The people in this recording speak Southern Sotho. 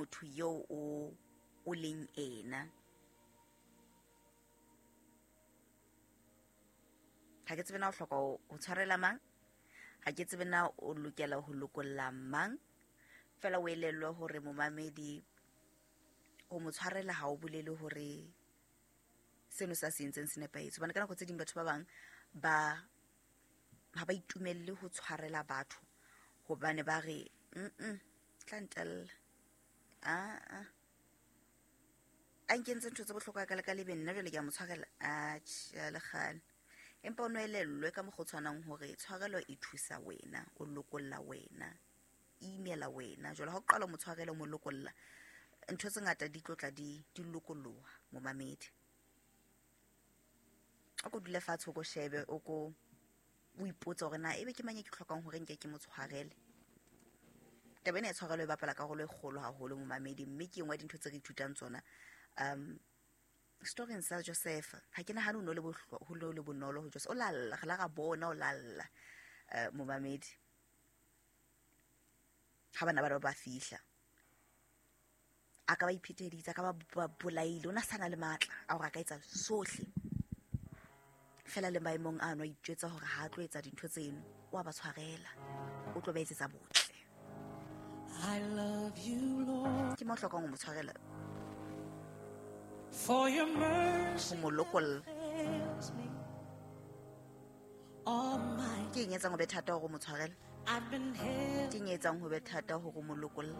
Motho eo o leng ena. Ha ke tsebe na o hloka ho tshwarela mang, ha ke tsebe na o lokela ho lokolla mang. Fela o elellwe hore momamedi, ho mo tshwarela ha o bolele hore seno sa se entseng se nepahetse. Hobane ka nako tse ding batho ba bang ba ha ba itumelle ho tshwarela batho, hobane ba re tla ntella, a a nkentse ntho tse bohlokwa ka le ka lebe, nna jwale ke a mo tshwarela. Atjhe, le kgale. Empa o no elellwe ka mokgwa o tshwanang hore tshwarelo e thusa wena, o lokolla wena, e imela wena. Jwale ha o qala o mo tshwarela, o mo lokolla, ntho tse ngata di tlo tla di lokoloha momamedi. O ko dule fatshe, o ko shebe, o ko o ipotse hore na ebe ke mang e ke hlokang hore nke ke mo tshwarele. Taba ena ya tshwarelo e bapala karolo e kgolo haholo momamedi, mme ke e nngwe ya dintho tse re ithutang tsona. Storyng sa Joseph, ha ke nahane ho no le ho no le bonolo ho Joseph. O lalla, re la ra bona o lalla, momamedi. Ha bana ba ba fihla, a ka ba ipheteditse, a ka ba bolaile, o na sa na le matla a hore a ka etsa sohle. Fela le maemong ano a itjwetsa hore ha a tlo etsa dintho tseno, o a ba tshwarela, o tlo ba etsetsa botle. I love you, Lord. Ke mo hlokang ho mo tshwarela. For your mercy Ho mo lokolla. fails me. All my Ke eng e etsang ho be thata hore o mo tshwarele? I've been held Ke eng e etsang ho be thata hore o mo lokolle?